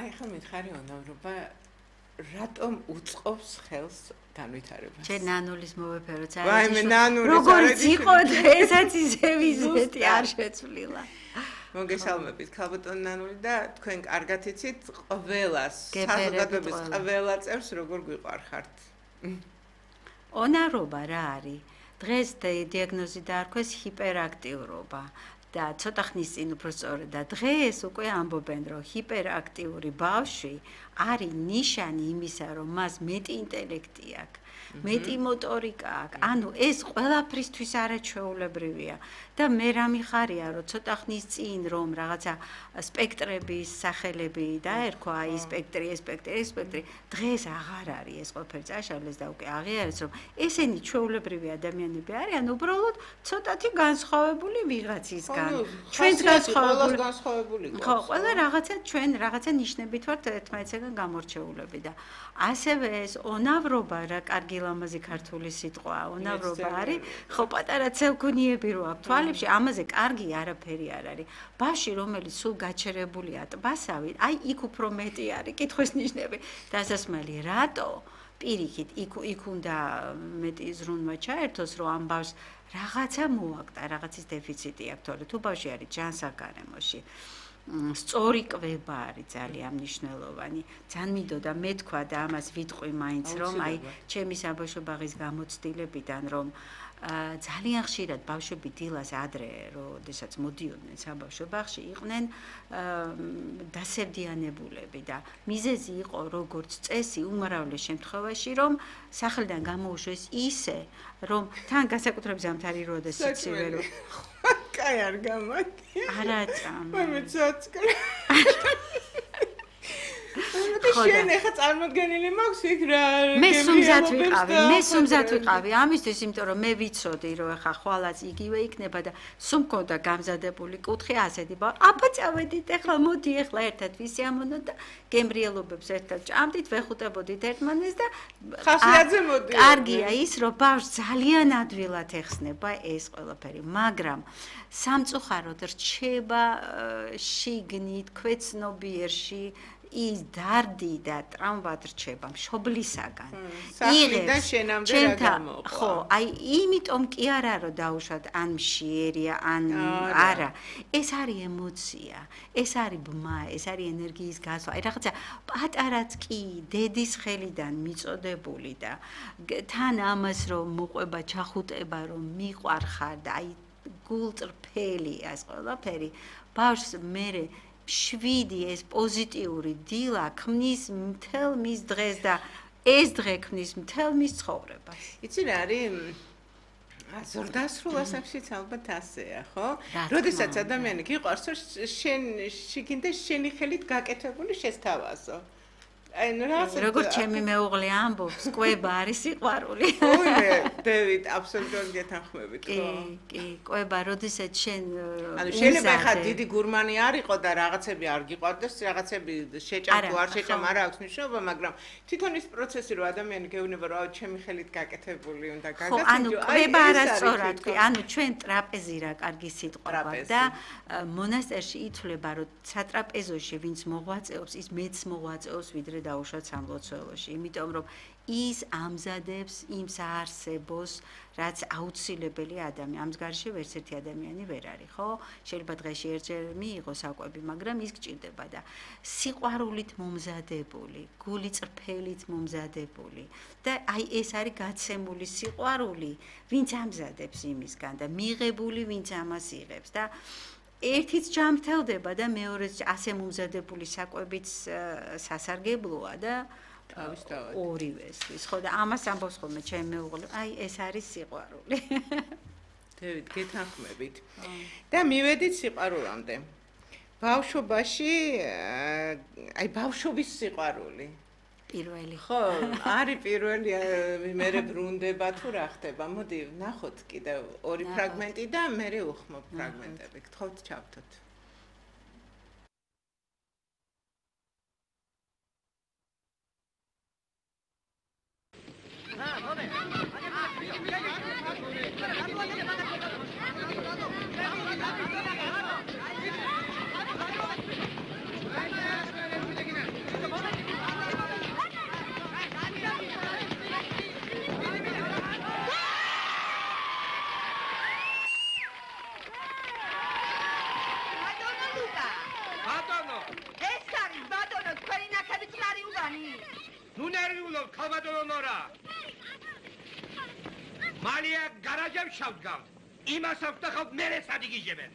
აი ხომ მითხარი უნავრობა რატომ უწყობს ხელს განვითარებას? ჩვენ ნანულის მოვეფეროთ ვაიმე ნანულის როგორც იყო ესაც ისე ვიზეთი არ შეცვლილა. მოგესალმებით ქალბატონ ნანული და თქვენ კარგად იცით ყველას საზოგადოების ყველა წევრს როგორ გვიყვარხართ. უნავრობა რა არის? დღეს დიაგნოზი დაარქვეს ჰიპერაქტიურობა. და ცოტა ხნის წინ უფრო სწორედ და დღეს უკვე ამბობენ რომ ჰიპერაქტიური ბავშვი არის ნიშანი იმისა რომ მას მეტი ინტელექტი აქვს მეტი მოტორიკა აქვს ანუ ეს ყველაფრისთვის არაჩვეულებრივია და მე რა მიხარია რომ ცოტა ხნის წინ რომ რაღაცა სპექტრების სახელები დაერქვა აი სპექტრი დღეს აღარ არის ეს ყველაფერი წაშალეს და უკვე აღიარეს რომ ესენი ჩვეულებრივი ადამიანები არიან უბრალოდ ცოტათი განსხვავებული ვიღაცისგან ჩვენს განსხვავებული ხო ყველა ჩვენ რაღაცა ნიშნებით ვართ ერთმანეთსგან გამორჩეულები და ასევე ეს უნავრობა რა კარგი ლამაზი ქართული სიტყვაა უნავრობა არის ხო პატარა ცელქუნიები რო აქვს თვალებში ამაზე კარგი არაფერი არ არის ბავშვი რომელიც სულ გაჩერებულია ტბასავით აი იქ უფრო მეტი არის კითხვის ნიშნები დასასმელი რატო პირიქით იქ უნდა მეტი ზრუნვა ჩაერთოს რომ ამ ბავშვს რაღაცა მოაკდა რაღაცის დეფიციტი აქვს თორე თუ ბავშვი არის ჯანსაღგარემოში სწორი კვება არის ძალიან მნიშვნელოვანი. ძალიან მინდოდა მე თქვა და ამას ვიტყვი მაინც რომ აი ჩემი საბავშვო ბაღის გამოცდილებიდან რომ ძალიან ხშირად ბავშვები დილას ადრე როდესაც მოდიოდნენ საბავშვო ბაღში იყვნენ დასევდიანებულები და მიზეზი იყო როგორც წესი უმრავლეს შემთხვევაში რომ სახლიდან გამოუშვეს ისე რომ თან განსაკუთრებით ზამთარი როდესაც სიცივე რო კაი არ გამაკი არა წამ მე ცოცხლ შენ ახლა წარმოდგენილი მაქვს იქ რა მე სუმზად ვიყავი ამისთვის იმიტომ რომ მე ვიცოდი რომ ახლა ხვალაც იგივე იქნება და სულ მქონდა გამზადებული კუთხე ასეთი აბა წავედით ახლა მოდი ახლა ერთად ვისიამოვნოთ და გემრიელობებს ერთად ჭამდით ვეხუტებოდით ერთმანეს და ხასიათზე მოდი კარგია ის რომ ბავშვს ძალიან ადვილად ეხსნება ეს ყველაფერი მაგრამ სამწუხაროდ რჩება შიგნით ქვეცნობიერში ის დარდი და ტრამვად რჩება მშობლისაგან. სახლიდან შენამდე რა გამოყვა. ხო, აი იმიტომ კი არა რომ დაუშვათ ან მშიერია, ან არა. ეს არის ემოცია, ეს არის ბმა, ეს არის ენერგიის გასვლა. აი რაღაცა პატარაც კი დედის ხელიდან მიწოდებული და თან ამას რომ მოყვება ჩახუტება რომ მიყვარხარ და აი გულწრფელი ეს ყველაფერი ბავშვს მერე 7 ეს პოზიტიური დილა ქმნის მთელ მის დღეს და ეს დღე ქმნის მთელ მის ცხოვრებას. იცი რა არის? ზორდასრულ ასაკშიც ალბათ ასეა, ხო? როდესაც ადამიანი გიყვარს, შენ შიგნით შენი ხელით გაკეთებული შესთავაზო. აი როგორც ჩემი მეუღლე ამბობს, კვება არის სიყვარული. ოიმე, დევიდ, აბსოლუტურად გეთანხმებით, ხო? კი, კვება, როდესაც შენ ანუ შეიძლება ხა დიდი გურმანი არ იყო და რაღაცები არ გიყვარდეს, რაღაცები შეჭამ თუ არ შეჭამ არ აქვს მნიშვნელობა, მაგრამ თვითონ ის პროცესი რომ ადამიანი გეუბნება რომ ჩემი ხელით გაკეთებული უნდა გაგაცნო, ანუ კვება არასწორად, ანუ ჩვენ ტრაპეზი რა კარგი სიტყვა და მონასტერში ითვლება რომ სატრაპეზოში ვინც მოღვაწეობს, ის მეც მოღვაწეობს ვიდრე დაუშვათ სამლოცველოში, იმიტომ რომ ის ამზადებს იმ საარსებოს, რაც აუცილებელი ადამიანი, ამ მსგავსი ვერც ერთი ადამიანი ვერ არის, ხო? შეიძლება დღეში ერთჯერ მიიღოს საკვები, მაგრამ ის გჭირდება და სიყვარულით მომზადებული, გული წრფელით მომზადებული და აი ეს არის გაცემული სიყვარული, ვინც ამზადებს იმისგან და მიღებული, ვინც ამას იღებს და ერთიც ჯამრთელდება და მეორეც ასე მომზადებული საკვებიც სასარგებლოა და ორივეს ის ხო და ამას ამბობს ხოლმე ჩემი მეუღლე აი ეს არის სიყვარული დევიდ გეთანხმებით და მივედით სიყვარულამდე ბავშვობაში აი ბავშვობის სიყვარული პირველი ხო არის პირველი მერე ბრუნდება თუ რა ხდება მოდი ნახოთ კიდევ ორი ფრაგმენტი და მერე უხმობ ფრაგმენტები გთხოვთ ჩავთოთ ნუ ნერვიულობ ქალბატონო ნორა. მალია გარაჟებს შავდგავთ. იმას ავტახავთ მერე სადიგიჟებენ.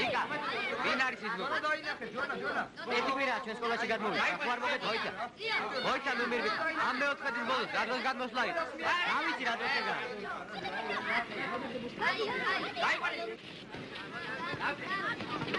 იკა, ვინ არის ის გოგო? ერთი კვირაა ჩვენ სკოლაში გადმოვიდა. ახლა არ მოგეთ მოიცა. მოიცა ნუ მირბით. ამ მეოთხედის ბოლოს რა დროს გადმოსვლა იყო? რა ვიცი რა დროს ეგა. აი.